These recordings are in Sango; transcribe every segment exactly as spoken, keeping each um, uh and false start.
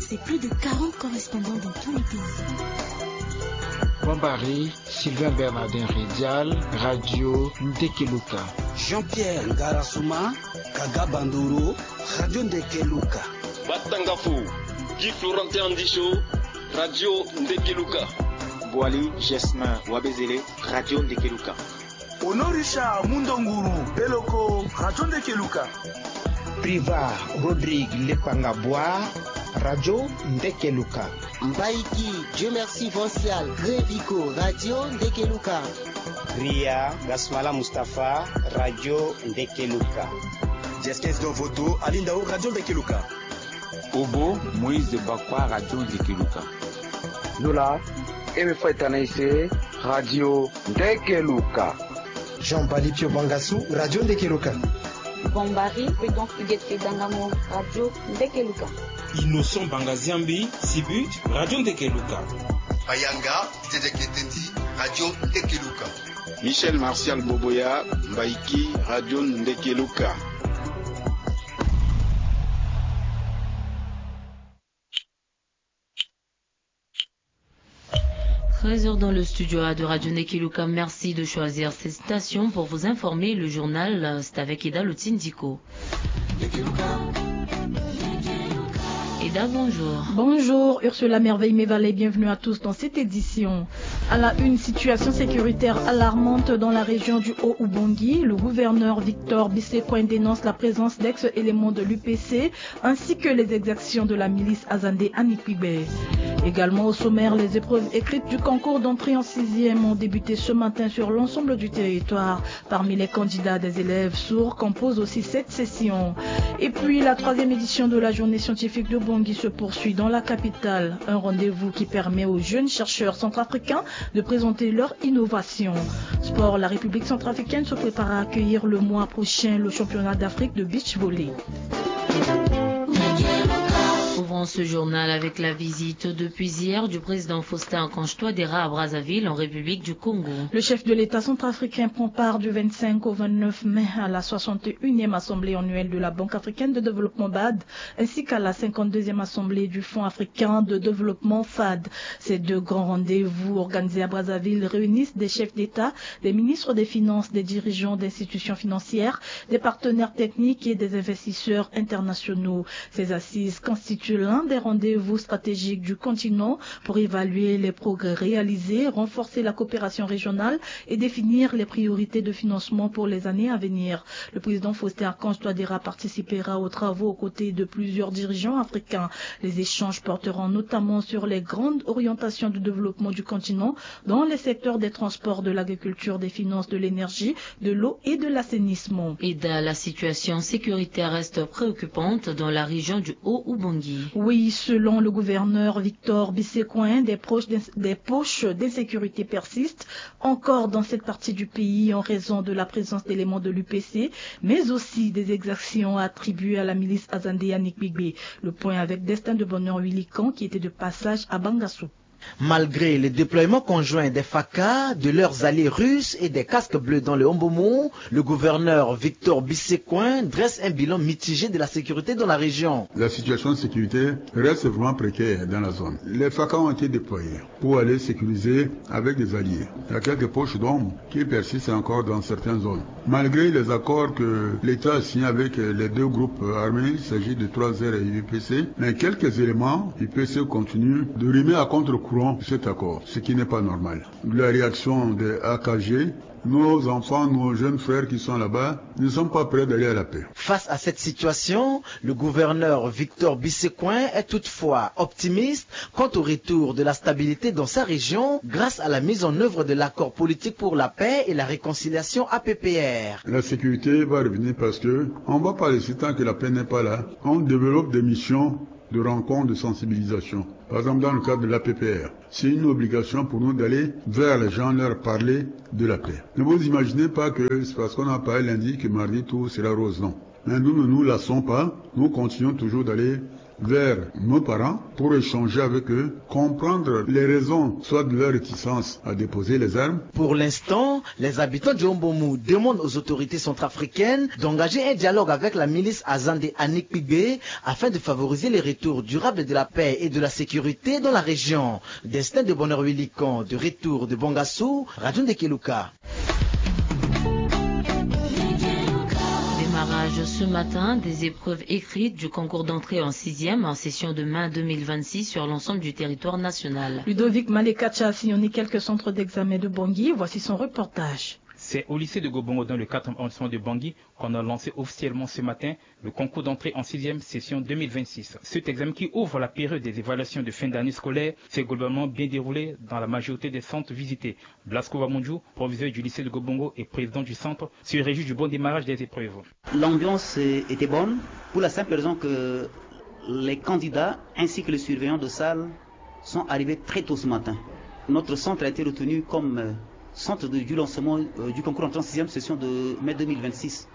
C'est plus de quarante correspondants dans tous les pays. Bambari, Sylvain Bernardin Redial, Radio Ndekeluka. Jean-Pierre Ngarasuma, Kaga Bandoro, Radio Ndekeluka. Batangafo, Guy Florentin Andisho, Radio Ndekeluka. Boali Gesmin Wabezele, Radio Ndekeluka. Honorisha Mundonguru Beloko, Radio Ndekeluka. Priva Rodrigue Lepangabwa, Radio Ndekeluka. Mbaiki Dieu Merci Vancial Grevico, Radio Ndekeluka. Ria Gasmala Mustapha, Radio Ndekeluka. Diaskes Dovoto, Alindao, Radio Ndekeluka. Obo Moïse Bakwa, Radio Ndekeluka. Zola Eme Faitanaise, Radio Ndekeluka. Jean Bali Pio Bangassou, Radio Ndekeluka. Bambari Prudence Huguette Dangamo, Radio Ndekeluka. Innocent Bangaziambi, Sibut, Radio Ndekeluka. Bayanga Didier Ketendi, Radio Ndekeluka. Michel Martial Boboya, Mbaiki, Radio Ndekeluka. Treize heures dans le studio A de Radio Ndekeluka. Merci de choisir cette station pour vous informer. Le journal, c'est avec Eda Lotindiko. Eda, bonjour. Bonjour, Ursula Merveille Mevalet, bienvenue à tous dans cette édition. À la une, situation sécuritaire alarmante dans la région du Haut-Oubangui. Le gouverneur Victor Bissecoin dénonce la présence d'ex-éléments de l'U P C ainsi que les exactions de la milice Azande Anikpigbe. Également au sommaire, les épreuves écrites du concours d'entrée en sixième ont débuté ce matin sur l'ensemble du territoire. Parmi les candidats, des élèves sourds composent aussi cette session. Et puis, la troisième édition de la journée scientifique de Bangui se poursuit dans la capitale. Un rendez-vous qui permet aux jeunes chercheurs centrafricains de présenter leur innovation. Sport, la République centrafricaine se prépare à accueillir le mois prochain le championnat d'Afrique de beach volley. Ouvrons ce journal avec la visite depuis hier du président Faustin Archange Touadéra à Brazzaville, en République du Congo. Le chef de l'État centrafricain prend part du vingt-cinq au vingt-neuf mai à la soixante et unième assemblée annuelle de la Banque africaine de développement, bad, ainsi qu'à la cinquante-deuxième assemblée du Fonds africain de développement, fad. Ces deux grands rendez-vous organisés à Brazzaville réunissent des chefs d'État, des ministres des Finances, des dirigeants d'institutions financières, des partenaires techniques et des investisseurs internationaux. Ces assises constituent l'un des rendez-vous stratégiques du continent pour évaluer les progrès réalisés, renforcer la coopération régionale et définir les priorités de financement pour les années à venir. Le président Faustin Archange Touadéra participera aux travaux aux côtés de plusieurs dirigeants africains. Les échanges porteront notamment sur les grandes orientations de développement du continent dans les secteurs des transports, de l'agriculture, des finances, de l'énergie, de l'eau et de l'assainissement. Eda, la situation sécuritaire reste préoccupante dans la région du Haut-Oubangui. Oui, selon le gouverneur Victor Bissecoin, des, des poches d'insécurité persistent encore dans cette partie du pays en raison de la présence d'éléments de l'U P C, mais aussi des exactions attribuées à la milice Azande Anikpigbe. Le point avec Destin de Bonheur Huilican qui était de passage à Bangassou. Malgré le déploiement conjoint des FACA, de leurs alliés russes et des casques bleus dans le Hombomont, le gouverneur Victor Bissecoin dresse un bilan mitigé de la sécurité dans la région. La situation sécuritaire reste vraiment précaire dans la zone. Les FACA ont été déployés pour aller sécuriser avec des alliés. Il y a quelques poches d'hommes qui persistent encore dans certaines zones. Malgré les accords que l'État a signés avec les deux groupes armés, il s'agit de trois R et U P C, mais quelques éléments U P C continuent de rimer à contre-courant cet accord, ce qui n'est pas normal. La réaction des A K G, nos enfants, nos jeunes frères qui sont là-bas, ne sont pas prêts d'aller à la paix. Face à cette situation, le gouverneur Victor Bissecoin est toutefois optimiste quant au retour de la stabilité dans sa région grâce à la mise en œuvre de l'accord politique pour la paix et la réconciliation A P P R. La sécurité va revenir parce que on va pas laisser tant que la paix n'est pas là. On développe des missions de rencontres de sensibilisation. Par exemple, dans le cadre de l'A P P R, c'est une obligation pour nous d'aller vers les gens, leur parler de la paix. Ne vous imaginez pas que c'est parce qu'on a parlé lundi que mardi tout sera rose, non. Mais nous ne nous lassons pas, nous continuons toujours d'aller vers nos parents pour échanger avec eux, comprendre les raisons, soit de leur réticence à déposer les armes. Pour l'instant, les habitants du Hombomu demandent aux autorités centrafricaines d'engager un dialogue avec la milice Azande Anikpigbe afin de favoriser les retours durables de la paix et de la sécurité dans la région. Destin de Bonheur Willican, de retour de Bangassou, Radio Ndekeluka. Démarrage ce matin des épreuves écrites du concours d'entrée en sixième en session de mai deux mille vingt-six sur l'ensemble du territoire national. Ludovic Malekacha a sillonné quelques centres d'examen de Bangui. Voici son reportage. C'est au lycée de Gobongo, dans le quatrième arrondissement de Bangui, qu'on a lancé officiellement ce matin le concours d'entrée en sixième session deux mille vingt-six. Cet examen, qui ouvre la période des évaluations de fin d'année scolaire, s'est globalement bien déroulé dans la majorité des centres visités. Blasco Wamundju, proviseur du lycée de Gobongo et président du centre, se réjouit du bon démarrage des épreuves. L'ambiance, euh, était bonne, pour la simple raison que les candidats ainsi que les surveillants de salle sont arrivés très tôt ce matin. Notre centre a été retenu comme, euh, centre de, du lancement, euh, du concours d'entrée en sixième session de mai deux mille vingt-six,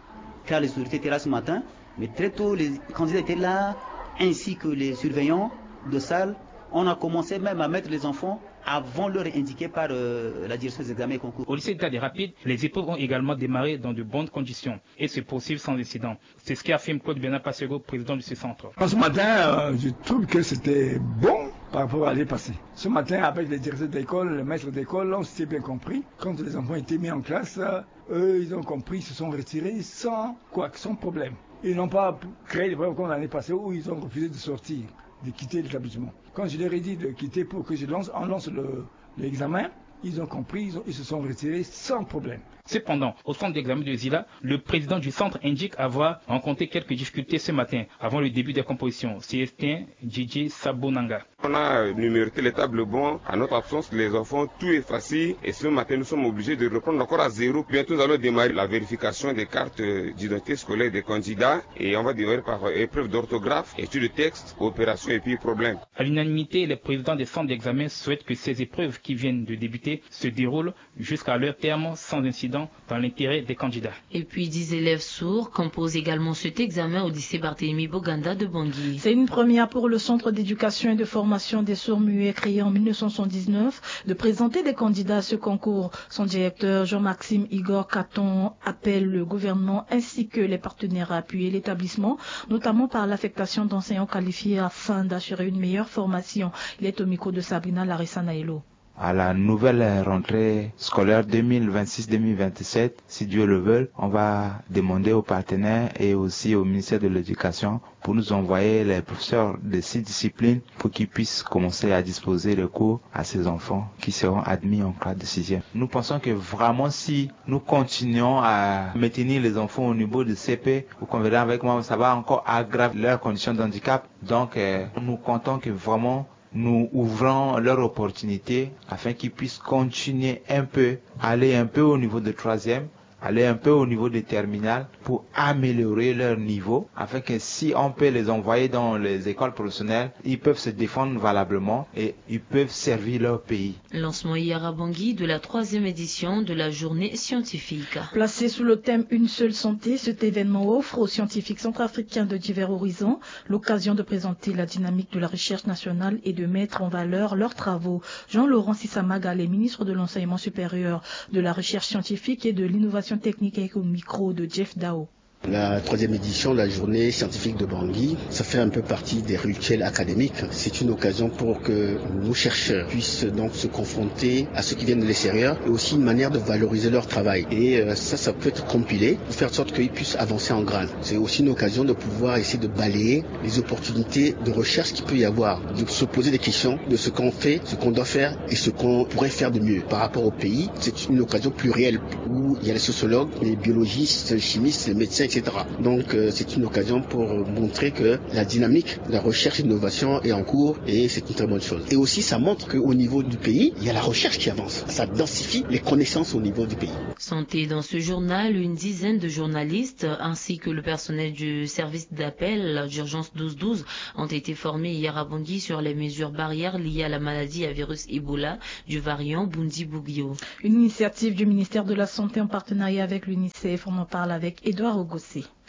car les autorités étaient là ce matin, mais très tôt, les candidats étaient là, ainsi que les surveillants de salle. On a commencé même à mettre les enfants avant l'heure indiquée par, euh, la direction des examens et concours. Au lycée d'État des Rapides, les épreuves ont également démarré dans de bonnes conditions et se poursuivent sans incident. C'est ce qu'affirme Claude Bernard Passego, président de ce centre. Ce matin, euh, je trouve que c'était bon par rapport à l'année passée. Ce matin, avec les directeurs d'école, les maîtres d'école, on s'était bien compris. Quand les enfants étaient mis en classe, euh, eux, ils ont compris, ils se sont retirés sans quoi, sans problème. Ils n'ont pas créé des problèmes comme l'année passée où ils ont refusé de sortir, de quitter l'établissement. Quand je leur ai dit de quitter pour que je lance, on lance le, l'examen, ils ont compris, ils ont, ils se sont retirés sans problème. Cependant, au centre d'examen de Zila, le président du centre indique avoir rencontré quelques difficultés ce matin, avant le début des compositions. Célestin Djidji Sabonanga. On a numéroté les tableaux blancs. À notre absence, les enfants ont tout effacé. Et ce matin, nous sommes obligés de reprendre encore à zéro. Bientôt, nous allons démarrer la vérification des cartes, euh, d'identité scolaire des candidats. Et on va démarrer par, euh, épreuve d'orthographe, étude de texte, opération et puis problème. À l'unanimité, les présidents des centres d'examen souhaitent que ces épreuves qui viennent de débuter se déroulent jusqu'à leur terme sans incident, dans l'intérêt des candidats. Et puis, dix élèves sourds composent également cet examen au lycée Barthélemy Boganda de Bangui. C'est une première pour le Centre d'éducation et de formation des sourds muets, créé en mille neuf cent soixante-dix-neuf, de présenter des candidats à ce concours. Son directeur, Jean-Maxime Igor Caton, appelle le gouvernement ainsi que les partenaires à appuyer l'établissement, notamment par l'affectation d'enseignants qualifiés afin d'assurer une meilleure formation. Il est au micro de Sabrina Larissa Naelo. À la nouvelle rentrée scolaire deux mille vingt-six deux mille vingt-sept, si Dieu le veut, on va demander aux partenaires et aussi au ministère de l'Éducation pour nous envoyer les professeurs de six disciplines pour qu'ils puissent commencer à disposer les cours à ces enfants qui seront admis en classe de sixième. Nous pensons que vraiment, si nous continuons à maintenir les enfants au niveau de C P, vous conviendrez avec moi, ça va encore aggraver leurs conditions de handicap. Donc, euh, nous comptons que vraiment nous ouvrons leur opportunité afin qu'ils puissent continuer un peu, aller un peu au niveau de troisième, aller un peu au niveau de terminale pour améliorer leur niveau, afin que si on peut les envoyer dans les écoles professionnelles, ils peuvent se défendre valablement et ils peuvent servir leur pays. Lancement hier à Bangui de la troisième édition de la journée scientifique. Placée sous le thème Une seule santé, cet événement offre aux scientifiques centrafricains de divers horizons l'occasion de présenter la dynamique de la recherche nationale et de mettre en valeur leurs travaux. Jean-Laurent Sisamaga, le ministre de l'Enseignement supérieur, de la Recherche scientifique et de l'Innovation technique, est au micro de Jeff Dao. La troisième édition de la journée scientifique de Bangui, ça fait un peu partie des rituels académiques. C'est une occasion pour que nos chercheurs puissent donc se confronter à ceux qui viennent de l'extérieur et aussi une manière de valoriser leur travail. Et, euh, ça, ça peut être compilé pour faire en sorte qu'ils puissent avancer en grade. C'est aussi une occasion de pouvoir essayer de balayer les opportunités de recherche qu'il peut y avoir, de se poser des questions de ce qu'on fait, ce qu'on doit faire et ce qu'on pourrait faire de mieux par rapport au pays. C'est une occasion plurielle où il y a les sociologues, les biologistes, les chimistes, les médecins, et cetera. Donc, euh, c'est une occasion pour montrer que la dynamique de la recherche et de l'innovation est en cours et c'est une très bonne chose. Et aussi, ça montre qu'au niveau du pays, il y a la recherche qui avance. Ça densifie les connaissances au niveau du pays. Sont dans ce journal une dizaine de journalistes ainsi que le personnel du service d'appel d'urgence douze douze ont été formés hier à Bangui sur les mesures barrières liées à la maladie à virus Ebola du variant Bundibugyo. Une initiative du ministère de la Santé en partenariat avec l'UNICEF. On en parle avec Édouard Ogossé.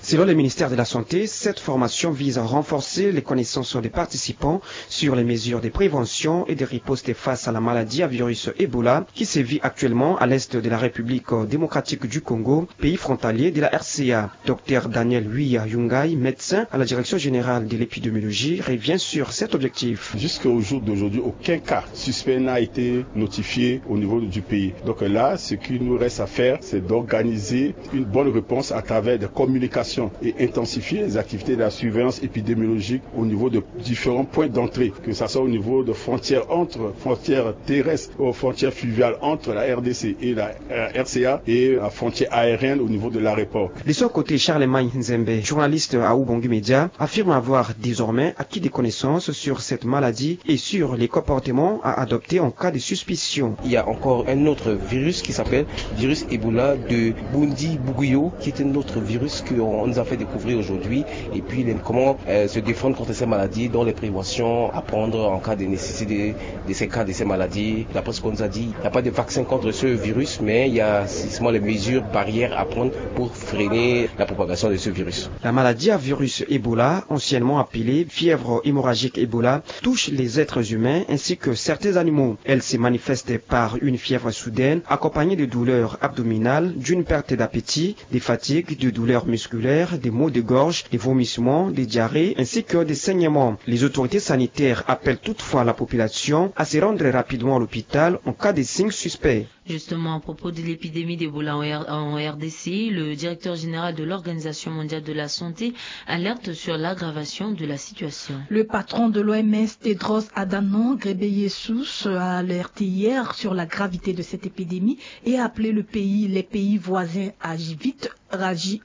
Selon le ministère de la Santé, cette formation vise à renforcer les connaissances des participants sur les mesures de prévention et de riposte face à la maladie à virus Ebola qui sévit actuellement à l'est de la République démocratique du Congo, pays frontalier de la R C A. Docteur Daniel Wiya Yungai, médecin à la Direction générale de l'épidémiologie, revient sur cet objectif. Jusqu'au jour d'aujourd'hui, aucun cas suspect n'a été notifié au niveau du pays. Donc là, ce qu'il nous reste à faire, c'est d'organiser une bonne réponse à travers des communications et intensifier les activités de la surveillance épidémiologique au niveau de différents points d'entrée, que ce soit au niveau de frontières entre frontières terrestres ou frontières fluviales entre la R D C et la euh, R C A et la frontière aérienne au niveau de l'aéroport. De son côté, Charlemagne Nzembe, journaliste à Ubangui Média, affirme avoir désormais acquis des connaissances sur cette maladie et sur les comportements à adopter en cas de suspicion. Il y a encore un autre virus qui s'appelle virus Ebola de Bundi Buguyo, qui est un autre virus qu'on nous a fait découvrir aujourd'hui. Et puis, les- comment euh, se défendre contre ces maladies, dont les préventions à prendre en cas de nécessité de ces cas, de ces maladies. D'après ce qu'on nous a dit, il n'y a pas de vaccin contre ce virus, mais il y a justement les mesures barrières à prendre pour freiner la propagation de ce virus. La maladie à virus Ebola, anciennement appelée fièvre hémorragique Ebola, touche les êtres humains ainsi que certains animaux. Elle se manifeste par une fièvre soudaine, accompagnée de douleurs abdominales, d'une perte d'appétit, des fatigues, de douleurs musculaires, des maux de gorge, des vomissements, des diarrhées, ainsi que des saignements. Les autorités sanitaires appellent toutefois la population à se rendre rapidement à l'hôpital en cas de signes suspects. Justement, à propos de l'épidémie d'Ebola en, R- en R D C, le directeur général de l'Organisation mondiale de la santé alerte sur l'aggravation de la situation. Le patron de l'O M S, Tedros Adhanom Ghebreyesus, a alerté hier sur la gravité de cette épidémie et a appelé le pays, les pays voisins à agir vite, réagir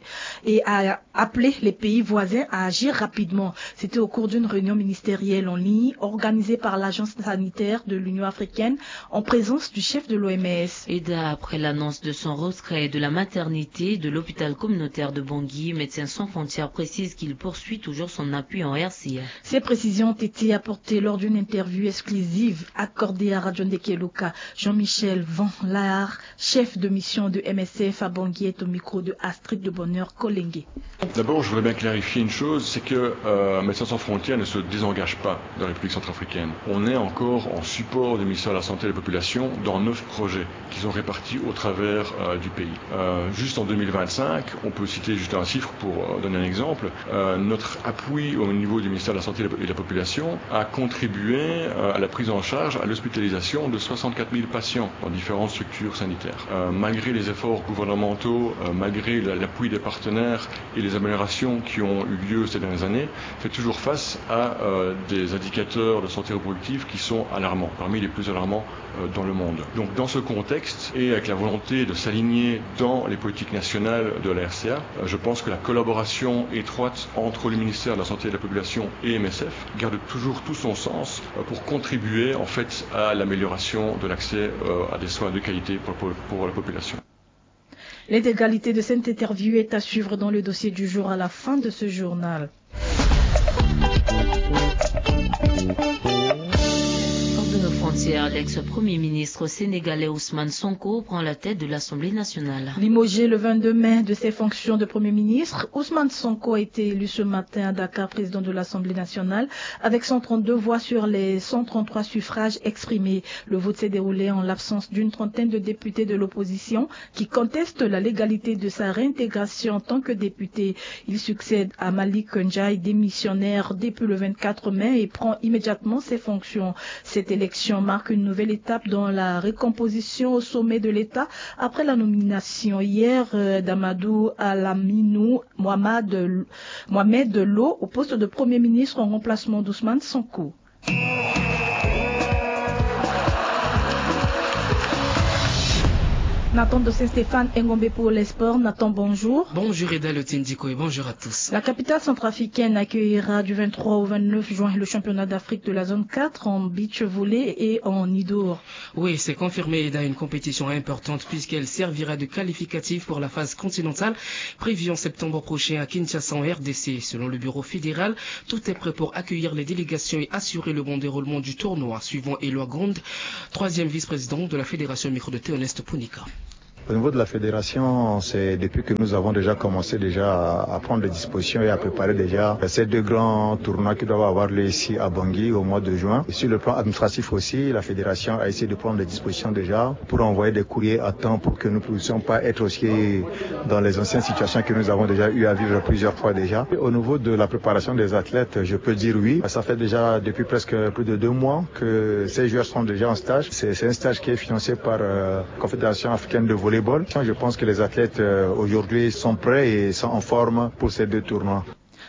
et à appeler les pays voisins à agir rapidement. C'était au cours d'une réunion ministérielle en ligne organisée par l'Agence sanitaire de l'Union africaine en présence du chef de l'O M S. Et d'après l'annonce de son retrait de la maternité de l'hôpital communautaire de Bangui, Médecins sans frontières précise qu'il poursuit toujours son appui en R C A. Ces précisions ont été apportées lors d'une interview exclusive accordée à Radio Ndeke Luka. Jean-Michel Van Laar, chef de mission de M S F à Bangui, est au micro de Astrid de Bonheur Kolenge. D'abord, je voudrais bien clarifier une chose, c'est que euh, Médecins sans frontières ne se désengage pas de la République centrafricaine. On est encore en support du ministère de la Santé et de la Population dans neuf projets qui sont répartis au travers euh, du pays. Euh, juste en deux mille vingt-cinq, on peut citer juste un chiffre pour euh, donner un exemple, euh, notre appui au niveau du ministère de la Santé et de la Population a contribué euh, à la prise en charge, à l'hospitalisation de soixante-quatre mille patients dans différentes structures sanitaires. Euh, malgré les efforts gouvernementaux, euh, malgré la- l'appui des partenaires et les améliorations qui ont eu lieu ces dernières années, fait toujours face à euh, des indicateurs de santé reproductive qui sont alarmants, parmi les plus alarmants euh, dans le monde. Donc dans ce contexte, et avec la volonté de s'aligner dans les politiques nationales de la R C A, euh, je pense que la collaboration étroite entre le ministère de la Santé et de la Population et M S F garde toujours tout son sens euh, pour contribuer en fait à l'amélioration de l'accès euh, à des soins de qualité pour, pour- pour la population. L'intégralité de cette interview est à suivre dans le dossier du jour à la fin de ce journal. Hors de nos frontières, l'ex-premier ministre sénégalais Ousmane Sonko prend la tête de l'Assemblée nationale. Limogé le vingt-deux mai de ses fonctions de Premier ministre, Ousmane Sonko a été élu ce matin à Dakar président de l'Assemblée nationale avec cent trente-deux voix sur les cent trente-trois suffrages exprimés. Le vote s'est déroulé en l'absence d'une trentaine de députés de l'opposition qui contestent la légalité de sa réintégration en tant que député. Il succède à Malick Ndiaye, démissionnaire depuis le vingt-quatre mai et prend immédiatement ses fonctions. Cette élection marque une nouvelle étape dans la recomposition au sommet de l'État après la nomination hier euh, d'Amadou Alaminou Mohamed, Mohamed Lo au poste de Premier ministre en remplacement d'Ousmane Sonko. Nathan de Saint-Stéphane Engombe pour les sports. Nathan, bonjour. Bonjour Eda Lotindiko et bonjour à tous. La capitale centrafricaine accueillera du vingt-trois au vingt-neuf juin le championnat d'Afrique de la zone quatre en beach volley et en indoor. Oui, c'est confirmé, Eda, une compétition importante puisqu'elle servira de qualificatif pour la phase continentale prévue en septembre prochain à Kinshasa en R D C. Selon le bureau fédéral, tout est prêt pour accueillir les délégations et assurer le bon déroulement du tournoi, suivant Eloi Grond, troisième vice-président de la fédération, au micro de Théoneste Punika. Au niveau de la fédération, c'est depuis que nous avons déjà commencé déjà à prendre des dispositions et à préparer déjà ces deux grands tournois qui doivent avoir lieu ici à Bangui au mois de juin. Et sur le plan administratif aussi, la fédération a essayé de prendre des dispositions déjà pour envoyer des courriers à temps pour que nous ne puissions pas être aussi dans les anciennes situations que nous avons déjà eu à vivre plusieurs fois déjà. Et au niveau de la préparation des athlètes, je peux dire oui. Ça fait déjà depuis presque plus de deux mois que ces joueurs sont déjà en stage. C'est c'est un stage qui est financé par euh, la Confédération africaine de volleyball. Je pense que les athlètes euh, aujourd'hui sont prêts et sont en forme pour ces deux tournois.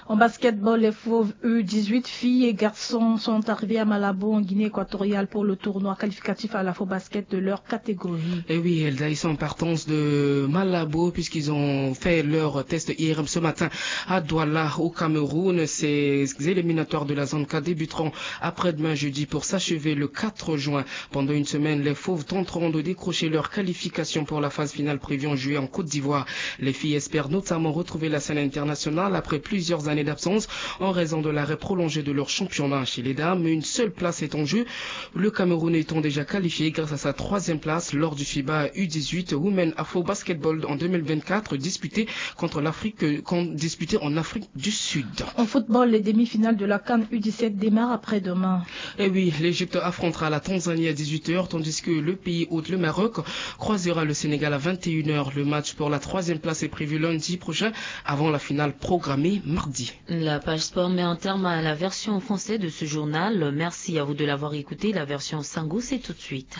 En basketball, les Fauves U dix-huit, filles et garçons, sont arrivés à Malabo en Guinée équatoriale pour le tournoi qualificatif à l'Afrobasket de leur catégorie. Et oui, Elsa, ils sont en partance de Malabo puisqu'ils ont fait leur test I R M ce matin à Douala, au Cameroun. Ces éliminatoires de la zone K débuteront après-demain jeudi pour s'achever le quatre juin. Pendant une semaine, les Fauves tenteront de décrocher leur qualification pour la phase finale prévue en juillet en Côte d'Ivoire. Les filles espèrent notamment retrouver la scène internationale après plusieurs années d'absence en raison de l'arrêt prolongé de leur championnat. Chez les dames, une seule place est en jeu, le Cameroun étant déjà qualifié grâce à sa troisième place lors du fiba U dix-huit Women Afro Basketball en deux mille vingt-quatre disputé contre l'Afrique, euh, con- disputé en Afrique du Sud. En football, les demi-finales de la CAN U dix-sept démarrent après-demain. Et oui, l'Égypte affrontera la Tanzanie à dix-huit heures, tandis que le pays hôte, le Maroc, croisera le Sénégal à vingt et une heures. Le match pour la troisième place est prévu lundi prochain, avant la finale programmée mardi. La page sport met un terme à la version en français de ce journal. Merci à vous de l'avoir écouté. La version Sango, c'est tout de suite.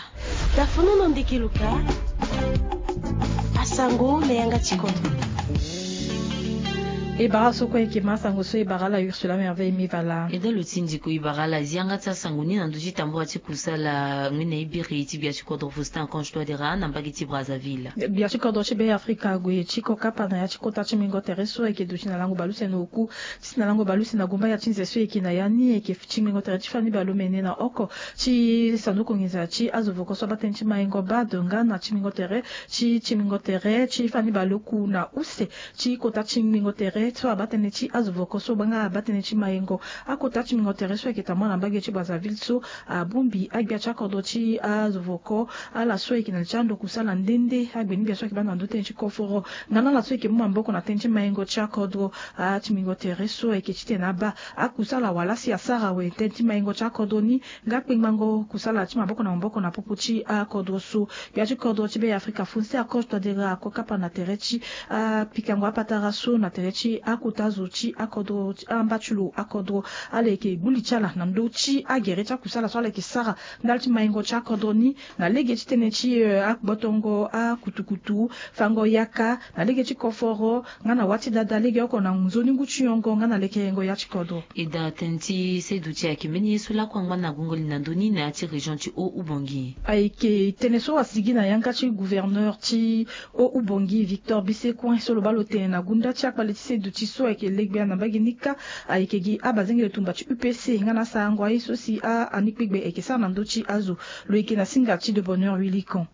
Tafono na ndeke luka asango na yanga tikoto. E bara so kue eke ma sango so e bara ala Ursula Merveille Mivala. E da lo ti ndiko e bara ala zianga ti asango ni na ndö ti tambura ti kusala ngoi na e biri ti gbia ti kodro Faustin Archange Touadéra na mbage ti Brazzaville. Gbia ti kodro ti Be Afrika ague ti kokapa na ya ti kota ti mingo tere so ayeke duti na lango baleuse na oku ti si na lango baleuse na gumba ya ti nze so ayeke na ya ni ayeke ti mingo tere ti fani baleomene na oko ti sanduku nginza ti azo voko so abaa tënë ti maingo bado nga na ti mingo tere ti ti mingo tere ti fani baleoku na use ti kota ti ngbingo tere so abaa tënë ti azo voko so nga abaa tënë ti mayengo. Akota ti ngbingo tere so ayeke tambula na mbage ti Brazzaville so abongbi agbia ti akodro ti azo voko ala so ayeke na li ti ando kusala nde nde agbeni gbia so ayeke baa na ndö tënë ti koforo nga na ala so ayeke mu maboko na tënë ti mayengo ti akodro. Ati ngbingo tere so ayeke titene abaa akusala wala si asara awe tënë ti mayengo ti akodro ni. Nga kpengbango kusala ti maboko na maboko na popo ti akodro so. Gbia ti kodro ti Be Afrika Faustin Archange Touadéra ako kapa na tere ti apikango apatara so na tere ti akota zo ti akodro ti amba ti lo akodro. Ala yeke gbu li ti ala na ndö ti agere ti akusala so ala yeke sara ndali ti maingo ti akodro ni na lege ti tënë ti eh, agbotongo akutukutu fango yaka na lege ti koforo nga na wâ ti dada legeoko na nzoni ngu ti yongo nga na lekerengo ya ti kodro. E daa tënë ti seduti ayeke mbeni ye so lakue angba na gongo li na ndö ni na ya ti région ti haut-oubongi. Ayeke tënë so asigi na yanga ti gouverneur ti haut-oubongi Victor Bisecoin so lo baa lo tene na gunda ti akpale ti seduti so ayeke legbia na mbage ni kâ. Ayeke gi abazengele tumba ti U P C nga na asarango aye so si a anikpegbe ayeke sara na ndö ti azo. Lo yeke na singa ti de bonheur huilicon.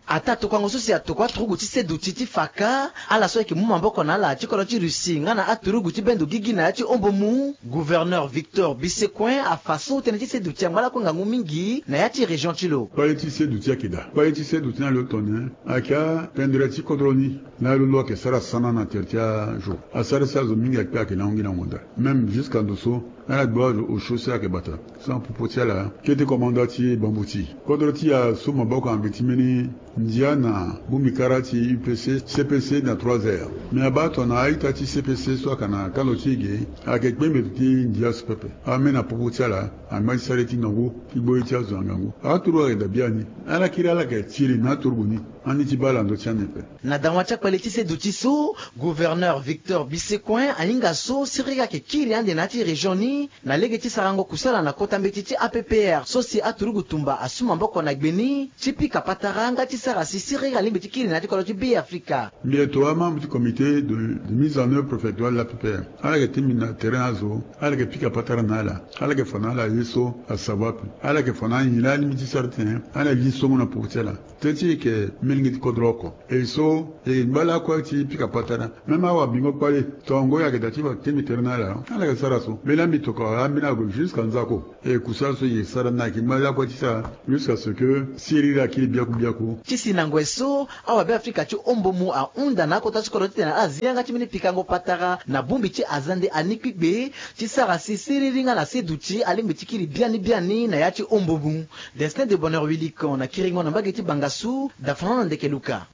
Ataa tokuango so si atokua turugu ti seduti ti fa kâ ala so ayeke mu maboko na ala ti kodro ti Russie nga na aturugu ti bendo gigi na ya ti ombo mu. Gouverneur Victor Bisecoin afa so tënë ti seduti angba lakue ngangu mingi na ya ti région ti lo. Kpale ti seduti ayeke daa kpale ti seduti na lo tone ayeke apendre ti kodro ni. Na lo lo ayeke sara sana na tere ti azo asara si azo mingi akpe ayeke na ahungi na honda. Même jusqu'à ndo so ala gbu azo osio si ayeke bata. Sans popo ti ala kete komanda ti bambuti kodro ti asu maboko na mbi ti mbeni ndia na bongbi kara ti U P C, C P C na trois R. Me abaa tongana a-ita ti C P C so ayeke na kando ti e ge ayeke kpe mbeto ti ndia so pepe. Ambeni na popo ti ala angba ti sara ye ti ngangu ti gbo ye ti azo na ngangu. Aturu ayeke daa biani. Ala kiri ala yeke tiri na aturugu ni. Andi ti baa ala na ndö ti ande ape. Na dawa ti akpale ti seduti so, gouverneur Victor Bisecoin ahinga so siriri ayeke kiri ande na ya ti région ni. Na lege ti sarango kusala na kota mbeti ti A P P R so si aturugu tumba asu maboko na gbe ni ti pika patara nga ti sara si siriri alingbi ti kiri na ya ti kodro ti Be Afrika. Mbi ato amembre ti comité de mise en œuvre préfectorale de l'A P P R. Ala yeke ti mbi na tere na azo. Ala yeke pika patara na ala. Ala yeke fa na ala ye so asava ape. Ala yeke fa na ala nyen laa alingbi ti sara titene ala li songo na popo ti ala. Teti e yeke melenge ti kodro oko. E so e ngba lakue ti pika patara. Même awa bingo kpale tongo e ayeke daa ti fa temi tere na ala. Ala yeke sara so mbeni laa mbi tokua ambeni ague jusqu'à nzako. E kusala so e yeke sara ni ayeke ngba lakue ti sara jusqu'à ce que siriri akiri biaku biaku. Si na ngoi so awabe afrika ti ombomu ahunda na akota ti kodro titene azi yanga ti mbeni pikango patara na bongbi ti azande ani kpikpe ti sara si siriri nga na se duti alingbi ti kiri biani biani na ya ti ombomu. Destin de bonheur wilikon na kiringo na mbage ti bangasu dafran na ndeke luka.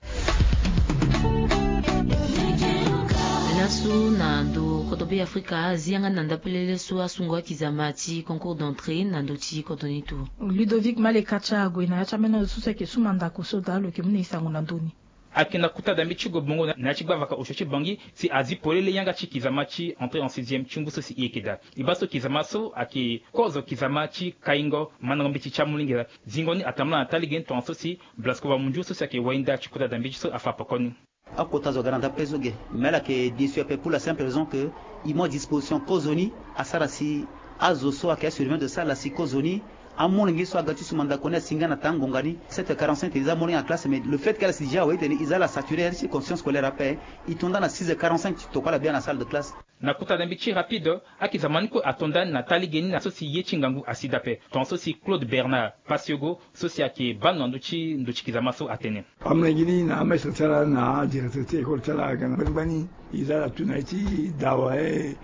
Laso na ndo kodro be afrika azi yanga na ndapelele so asungo akizama ti concours d'entrée na ndo ti kodro ni tu. Ludovic maleka ti ague na ya ti amena zo so si ayeke su mandako so daa lo yeke mu na e sango na ndö ni. Ayeke na kota dambe ti gobongo na ya ti gbavaka osio ti bangi si azi polele yanga ti kizama ti entrée en sixième ti ngu so si e yeke daa. E baa so kizama so ayeke kozo kizama ti kaingo mandango mbeti ti amolenge laa. Zingo ni atambula na taa lege ni tongaso si blasko wamunju so si ayeke wainda ti kota dambe ti so afa poko ni. Akota zo aga na dape so ge me ala yeke déçu ape pour la simple raison que e mu adisposition kozo ni asara si azo so ayeke asurveillant de salle asi kozo ni. Amolenge so aga ti su mandako ni asi nga na taa ngonga ni sept heures quarante-cinq e za amolenge na classe mais le fait que ala si déjà awe titene e za ala saturé ya ti conscience scolaire ape. E to nda na six heures quarante-cinq ti tokua ala bia na salle de classe. Na kota dambe ti rapide akizama ni kue ato nda ni na taa lege ni na so si ye ti ngangu asi dape tongaso si claude bernard pasiogo so si ayeke baa ndo na ndö ti ndo ti kizama so atene. Amolenge ni na amestre ti ala na adirecteur ti école ti ala aga na gbani gbani. E za ala tu na ye ti dawa e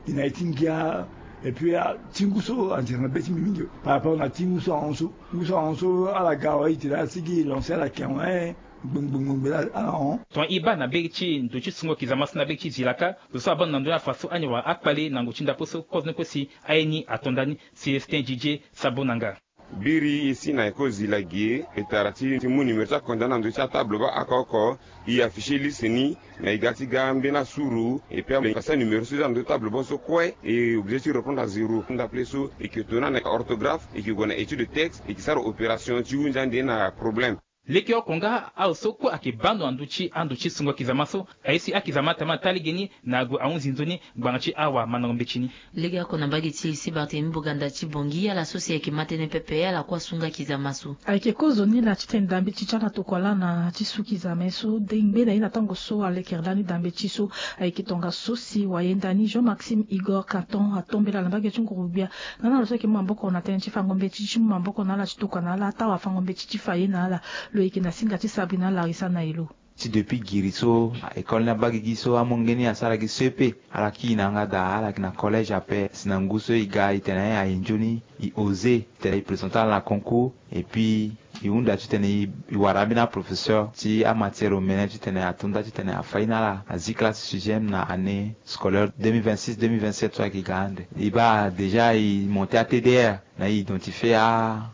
e na ye ti ngia. Et puis ti ngu so anzere na be ti mbi mingi par rapport na ti ngu so ahon so ngu so ahon so ala ga awe e tene ala sigi e lancer ala ke awe. Gbengbengbengbe la ala hon. Tongana e baa na be ti ndo ti sungo kizama so na be ti zilaka zo so abaa ndo na ndö ni afa so ani wara akpale na ngu ti ndapo so kozo ni kue si aye ni ato nda ni. Célestin didie sabo na nga. Biri e si na eko zila ge e tara ti ti mu numéro ti akonda na ndö ti atable baa aka oko. E afficher liste ni na e ga ti ga mbeni asuru. Et puis e kasi anuméro so e za na ndö ti table baa so kue e obligé ti répondre à zéro. Ndapele so e ke to na na orthographe e ke gue na étude de texte e ke sara opération ti hunzi ande na problème. Lege oko nga azo so kue ayeke baa ndo na ndö ti ando ti sungo kizama so aye si akizama atama taa lege ni na ague ahunzi nzoni ngbanga ti awa mandango mbeti ni. Lege oko na mbage ti lycée barthélemy boganda ti bongi ala so si ayeke ma tënë pepe ala kue asunga kizama so. Ayeke kozoni laa titene dambe ti ti ala tokua laa na ti su kizama ye so dengbe na ye na tango so alekere lani dambe ti so. Ayeke tongaso si wayenda ni jean maxime igor caton atombela na mbage ti nguru-gbia. Nga na lo so ayeke mu maboko na tënë ti fango mbeti ti mu maboko na ala ti tokua na ala ata wafango mbeti ti fa ye na ala. Lo yeke na singa ti sabri na ala larisa na elo. Ti depuis giri so école ni abaa gi gi so amolenge ni asara gi so ye pe ala kiri na yanga daa ala yeke na collège ape si na ngu so e ga e tene aye nzoni e oser tene e présenter ala na concours. Et puis e hunda titene e wara ambeni aprofesseur ti amatière omene titene ato nda titene afa ye na ala azi classe sixième na année scolaire deux mille vingt-six deux mille vingt-sept so ayeke ga ande. E baa déjà e monter atdr na e identifier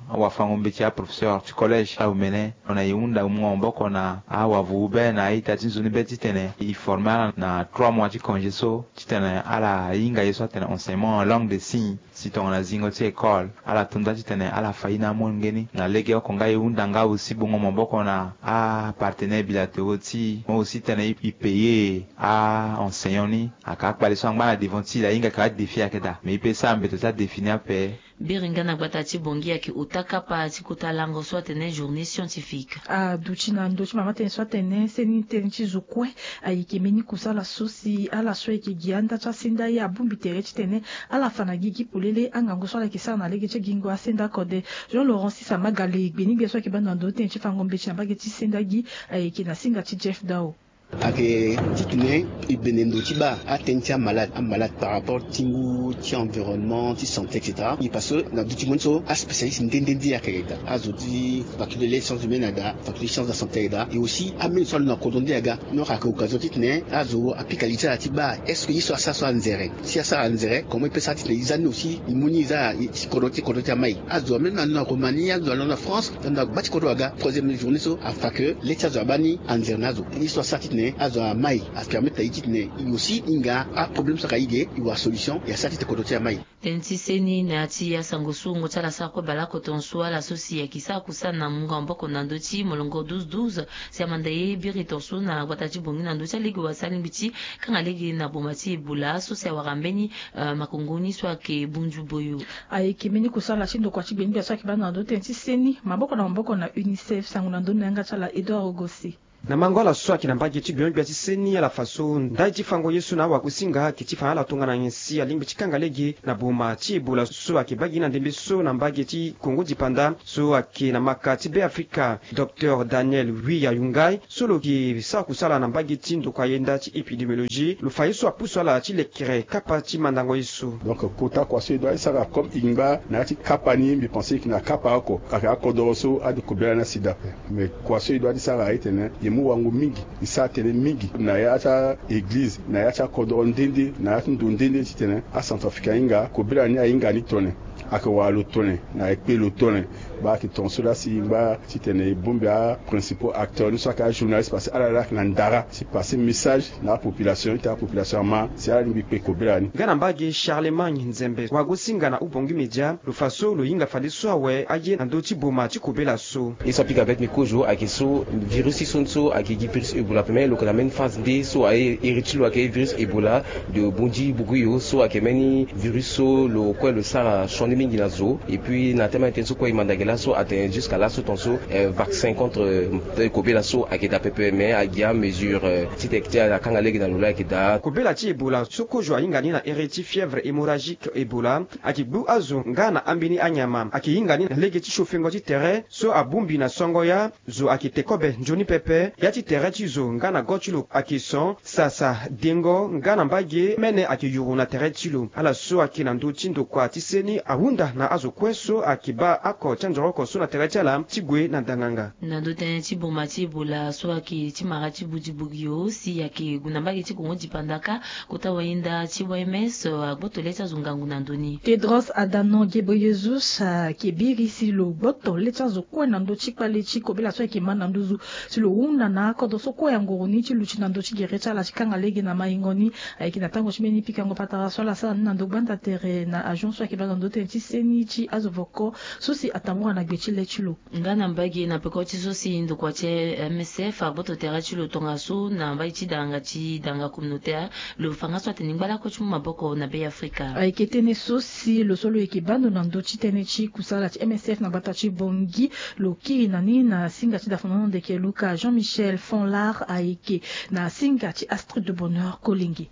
awafango mbeti aprofesseur ti collège ala omene. Ona e hunda mu maboko na awavuru be na a-ita ti nzoni be titene e former ala na trois mois ti congé so titene ala hinga ye so atene enseignement en langue de signe. Si tongana zingo ti école ala to nda titene ala fa ye na amolenge ni na lege oko nga e hunda nga aussi bongo maboko na apartenaire bilatéraux ti e mo aussi titene e payer a-enseignant ni. Ayeke akpale so angba na devant ti e ahinga ayeke adéfi ayeke daa mais e pe sara mbeto ti adéfi ni ape. Biri nga na gbata ti bongi ayeke ota kapa ti kota lango so atene journée scientifique. Aduti na ndö ti mama tënë so atene seni tënë ti zo kue. Ayeke mbeni kusala so si ala so ayeke gi anda ti asenda ye abongbi tere titene ala fa na gigi polele angangu so ala yeke sara na lege ti agingo asenda kode. Jean laurent sisa magale gbeni gbia so ayeke baa na ndo tënë ti fango mbeti na mbage ti senda gi ayeke na singa ti jeff dao. Ayeke titene e bene ndo ti baa atënë ti amalade amalade par rapport ti ngu ti environnement ti santé et cetera. E parce que na duti mo ni so aspécialiste nde nde nde ayeke daa azo ti faculté les sciences humaines ada faculté sciences de la santé ada e aussi ameni so alo na kodro nde aga. Donc ayeke occasion titene azo apika li ti ala ti baa est ce que ye so asara so anzere si asara anzere comment e pe sara titene e za ni aussi e mu ni e za ti kodro ti kodro ti amai. Azo ameni na ndo na roumanie azo alo na france ndo na gba ti kodro aga troisième journée so afa ke le ti azo abaa ni anzere na azo ye so asara titene azo amai apermettre na e titene e aussi e hinga aproblème so aka e ge e wara solution e asara titene kodro ti amai. Tënë ti seni na ya ti asango so wungo ti ala sara kue baleoko tongaso ala so si ayeke sara kusana na mungo maboko na ndö ti molongo douze douze. Si amanda ye biri tongaso na gbata ti bongi na ndö ti alege wala si alingbi ti kanga lege na boma ti ebola so si awara mbeni makongo ni so ayeke bunzu boyo. Ayeke mbeni kusala ti ndokua ti gbeni gbia so ayeke baa na ndö tënë ti seni maboko na maboko na unicef sango na ndö ni na yanga ti ala edouard ogosi. Na mango ala so ayeke na mbage ti gbenyo-gbia ti seni ala fa so ndai ti fango ye so na awagosinga ayeke ti fa na ala tongana nyen si alingbi ti kanga lege na boma ti Ebola so ayeke baa gi na ndembe so na mbage ti Kongo dipanda so ayeke na maka ti Be Afrika. Docteur Daniel Wiya Yungai so lo yeke sara kusala na mbage ti ndokua yenda ti épidémiologie lo fa ye so apusu ala ti lekere kapa ti mandango ye so. Donc kota kua so e doit ti sara comme e ngba na ya ti kapa ni, mbi pense e yeke na kapa oko ayeke akodoro so ade kobela ni asi daa ape. Mais kua so e doit ti sara aitene e mu wango mingi, e sara tënë mingi na ya ti a-église, na ya ti akodoro nde nde, na ya ti ndo nde nde titene acentrafricain ahinga kobela ni ahinga ni tone. Ayeke wara lo tone na e kpe lo tone. Baa ayeke tongaso laa si e ngba titene e bongbi aprincipaux acteurs ni so ayeke ajournaliste parce que ala laa ayeke na ndara si pase message na apopulation ti apopulation ama si ala lingbi kpe kobela ni. Nga na mbage Charlemagne Nzembe wagosinga na Ubongi Media lo fa so lo hinga fadeso awe aye na ndö ti boma ti kobela so. Ye so apika avec ni kozo ayeke so virus ti so ni so ayeke gi virus Ebola ape, mais lo yeke na mbeni phase nde so aye iri ti lo ayeke virus Ebola de Bundibugyo so ayeke mbeni virus so lo kue lo sara sioni mingi na zo. Et puis na tënë ti tënë so kue e manda gi laso atene jusqu'à laso tongaso vaccin contre kobela so ayeke daa pepe, mais agi amesure ti tene ti akanga lege na lo laa ayeke daa. Kobela ti Ebola so kozo ahinga ni na iri ti fièvre hémorragique Ebola ayeke gbu azo nga na ambeni anyama, ayeke hinga ni na lege ti sofengo ti tere so abongbi na songo ya. Zo ayeke te kobe nzoni pepe. Ya ti tere ti zo nga na go ti lo ayeke son, sasa, dengo nga na mbage mene ayeke yuru na tere ti lo. Ala so ayeke na ndö ti ndokua ti seni ahunda na azo kue so ayeke baa oko ti anzoro oko so na tere ti ala ti gue na ndanganga. Na ndö tënë ti boma ti Ebola so ayeke ti mara ti Bundibugyo si ayeke gue na mbage ti Kongo dipanda kâ, kota wayenda ti O M S agboto le ti azo ngangu na ndö ni. Tedros Adhanom Ghebreyesus ayeke biri si lo gboto le ti azo kue na ndö ti kpale ti kobela so ayeke ma na nduzu si lo hunda na akodro so kue angoro ni ti luti na ndö ti gere ti ala ti kanga lege na maingo ni. Ayeke na tango ti mbeni pikango patara so ala sara ni na ndo gbanda tere na agent so ayeke baa na ndö tënë ti seni ti azo voko so si atambula na gbe ti le ti lo. Nga na mbage na peko ti so si ndokua ti M S F agboto tere ti lo tongaso na mbage ti danga ti danga communautaire, lo fa nga so atene ngba lakue ti mu maboko na Be Afrika. Ayeke tënë so si lo so lo yeke baa ndo na ndö ti tënë ti kusala ti M S F na gbata ti Bangui. Lo kiri na ni na singa ti dafonono ndeke Luka Jean Michel Fonlard ayeke na singa ti Astrid de Bonheur Kolenge.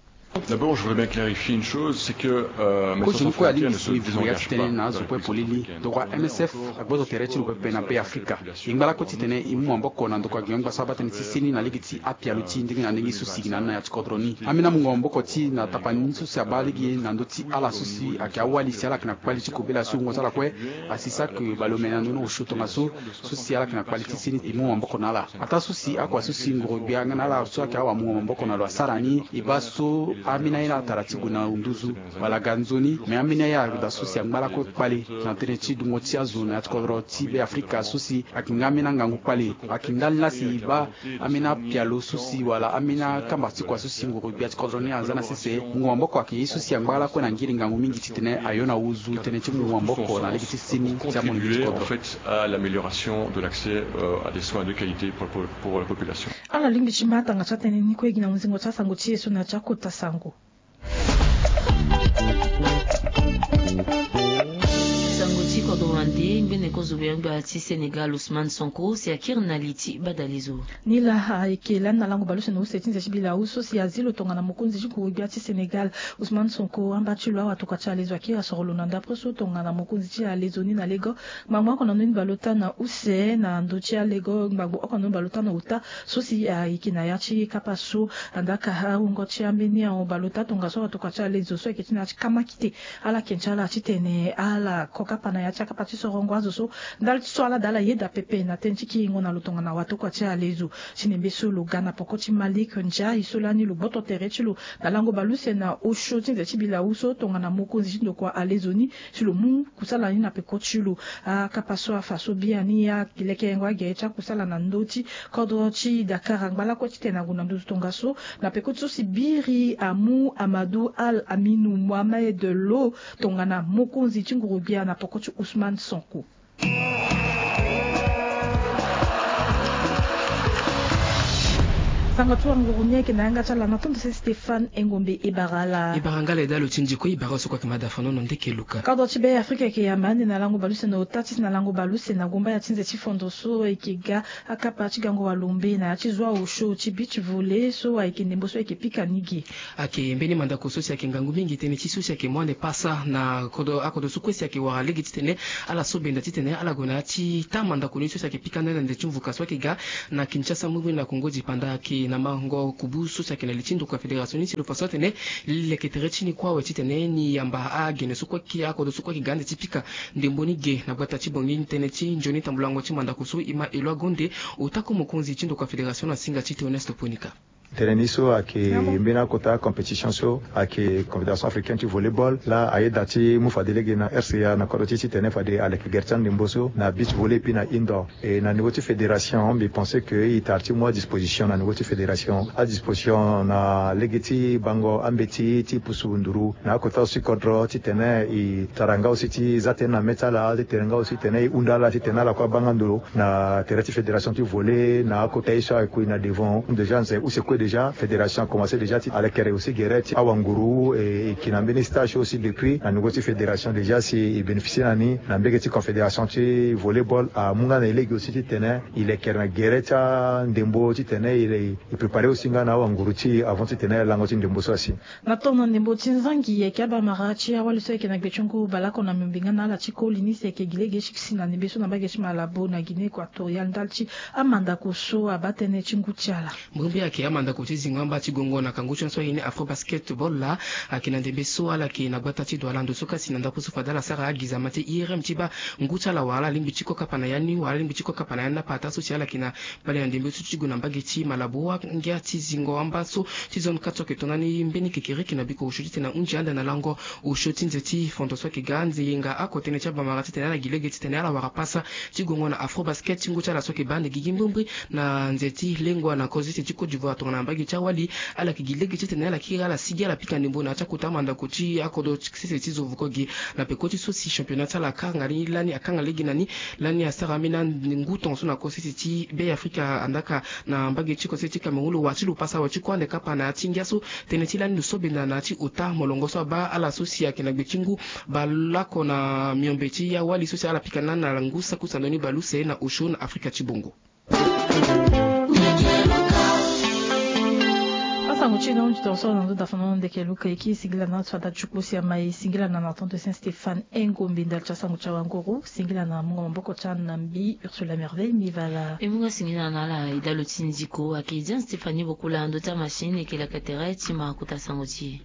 D'abord, je voudrais bien clarifier une chose, c'est que euh, Kozo ni kue alingbi si mbi vuru ya ti tene na azo kue polele, ndokua M S F agboto tere ti lo pepe na Be Afrika. E ngba lakue titene e mu maboko na ndokua gbenyo-gbia so abaa tënë ti seni na lege ti apialo ti e ndenge na ndenge so si e yeke na ni na ya ti kodro ni. Ambeni amungo maboko ti e na tapani so si abaa lege na ndö ti ala so si ayeke awali si ala yeke na kpale ti kobela so wungo ti ala kue asi saki baleomene na ndö ni osio tongaso so si ala yeke na kpale ti seni e mu maboko na ala. Ataa so si akua so si ngoro-gbia nga na ala so ayeke awamungo maboko na lo asara ni e baa so ambeni aye ni atara ti gue na nduzu wala ga nzoni, me ambeni aye ague daa so si angba lakue kpale na tënë ti dungo ti azo na ya ti kodro ti Be Afrika so si ayeke nga ambeni angangu kpale. Ayeke ndali laa si e baa ambeni apialo so si wala ambeni akamba ti kua so si ngoro-gbia ti kodro ni aza na sese. Mungo maboko ayeke ye so si angba lakue na ngiri ngangu mingi titene ayo na wuzu tënë ti mungo maboko na lege ti seni ti amonenge ti kodro. Contribuer en fait à l'amélioration de l'accès euh, à des soins de qualité pour, pour, pour la population. Ala lingbi ti ma tanga ti atënë ni kue gi na mozingo ti asango ti e so na ya ti akota sango. Sango ti kodro wande ngbene kozo gbenyo-gbia ti Sénégal Ousmane Sonko si akiri na li ti badalezo. Ni laa ayeke lani na lango baleuse na use ti nze ti bilau so si azi lo tongana mokonzi ti nguru-gbia ti Sénégal Ousmane Sonko amba ti lo awatokua ti alezo akiri asoro lo na ndapre so tongana mokonzi ti alezo ni na lego. Ngbangbo oko na ndoni baleota na use na ndö ti alego ngbangbo oko na ndoni baleota na ota so si ayeke na ya ti kapa so. Andaka awungo ti ambeni ahon baleota tongaso awatokua ti alezo so ayeke ti na ya ti kamakite ala yeke ti ala titene ala ko kapa na ya ti akapa ti sorongo azo so ndali ti so ala daa ala yeda pepe na tënë ti kiringo na lo tongana watokua ti alezo. Ti nembe so lo ga na poko ti Malick Ndiaye so lani lo gboto tere ti lo na lango baleuse na osio ti nze ti bilau so tongana mokonzi ti ndokua alezo ni si lo mu kusala ni na peko ti lo. Akapa so afa so biani alekerengo agere ti akusala na ndö ti kodro ti Dakar angba lakue titene ague na nduzu tongaso na peko ti so si biri amu Amadou Al Aminou Mohamed lo tongana mokonzi ti nguru-gbia na peko ti Ousmane Sonko. Sango ti wanguru ni ayeke na yanga ti ala na tongaso Stéphane Engombe Ebarala. Ebara nga le dalo ti nziko, ebara so kue ayeke ma dafanono ndeke luka. Kodro ti Be Afrika ayeke yamba ande na lango baluse na ota ti si na lango baluse na gumbaya ti nze ti fondo so ayeke ga akapa ti gango walombe na ya ti zo aosio ti beach volley so ayeke ndembo so ayeke pika ni ge. Ayeke mbeni mandako so si ayeke ngangu mingi tënë ti so si ayeke mu ande pasa na kodro akodro so kue si ayeke wara lege titene ala so benda titene ala gue na ya ti taa mandako ni so si ayeke pika nda na nze ti mvuka so ayeke ga na Kinshasa, mbirimbiri na Kongo dipanda ayeke na mango kubu so si ayeke na li ti ndokua fédération ni si lo fa so atene li leke tere ti ni kue awe titene ni yamba agene so kue ayeke akodro so kue ayeke ga ande ti pika ndembo ni ge na gbata ti Bangui tënë ti nzoni tambulango ti mandako so e ma Eloi Gonde, ota ko mokonzi ti ndokua fédération na singa ti Théoneste Ponika. Tënë ni so ayeke mbeni akota compétition so ayeke Confédération africaine ti volleyball laa ayeda ti mu fade lege na R C A na kodro ti e titene fade aleke gere ti andembo so na beach volley puis na indoor. E na niveau ti fédération mbi pense que e tara ti mu adisposition na niveau ti fédération, adisposition na lege ti bango ambeti ti pusu nduru na akota aussi kodro titene e tara nga aussi ti za tënë na mê ti ala, ti tene nga aussi titene e hunda ala titene ala kue abaa nga ndo na tere ti fédération ti volley na akota ye so ayeke na devant. Déjà nze use kue déjà fédération akomanse déjà ti alekere aussi gere ti awanguru, e, e yeke na mbeni stage aussi depuis na niveau ti fédération déjà si e bénéficier na ni na mbege ti confédération ti volleyball amu nga na e lege aussi titene e lekere na gere ti andembo titene e, e préparer aussi nga na awanguru ti e avant titene alango ti ndembo so asi. Na tongo na ndembo ti nzangi ayeke abamara ti awali so ayeke na gbe ti ngu baleoko na miombe nga na ala ti koli ni si ayeke gi lege ti si na ndembe so na mbage ti Malabo na Guinée équatoriale ndali ti amandako so abaa tënë ti ngu ti ala. Mbirimbiri ayeke amandako ti zingo amba ti gongo na kangu ti so aye ni Afro Basketball laa ayeke na ndembe so ala yeke na gbata ti Douala ndo so kasi na ndako so fade ala sara agizama ti I R M ti baa ngu ti ala wala ala lingbi ti kokapa na ya ni wala ala lingbi ti kokapa na ya ni apata so si ala yeke na Bale na ndembe so ti gue na mbage ti Malabo, angia ti zingo amba so ti zone quatre so ayeke tongana ni mbeni kekereke na biko osio titene ahunzi ande na lango osio ti nze ti fondo so ayeke ga nze yenga oko tënë ti abamara titene ala gi lege titene ala wara pasa ti gongo na Afro Basket ti ngu ti ala so ayeke baa ande gigi mbirimbiri na nze ti lengua na kozese ti Côte d'Ivoire tongana na mbage ti awali. Ala yeke gi lege titene ala kiri ala sigi ala pika ndembo na ya ti akota mandako ti akodro ti sese ti zo vuko gi na peko ti so si championnat ti ala akanga ni lani akanga lege na ni. Lani asara ambeni angu tongaso na kosese ti Be Afrika andaka na mbage ti kosese ti Cameroun lo wa ti lo pasa awe ti kue ande kapa na ya ti ngia so tënë ti lani lo so benda na ya ti ota molongo so abaa ala so si ayeke na gbe ti ngu baleoko na miombe ti awali so si ala pika na na ngu saku sandoni baleuse na osio na Afrika ti bongo. Asango ti e na hundi tongaso na ndo dafana na ndeke luka e kiri singila na ala ti fada ti kpo si ama e singila na na tongaso Saint Stéphane Engombe ndali ti asango ti awanguru singila na mungo maboko ti ana na mbi Ursula Merveille Mivala. E mu nga singila na ala e dalo ti nziko ayeke Jean Stéphanie Bokula ndo ti amachine e yeke leke tere ti ma kota sango ti e.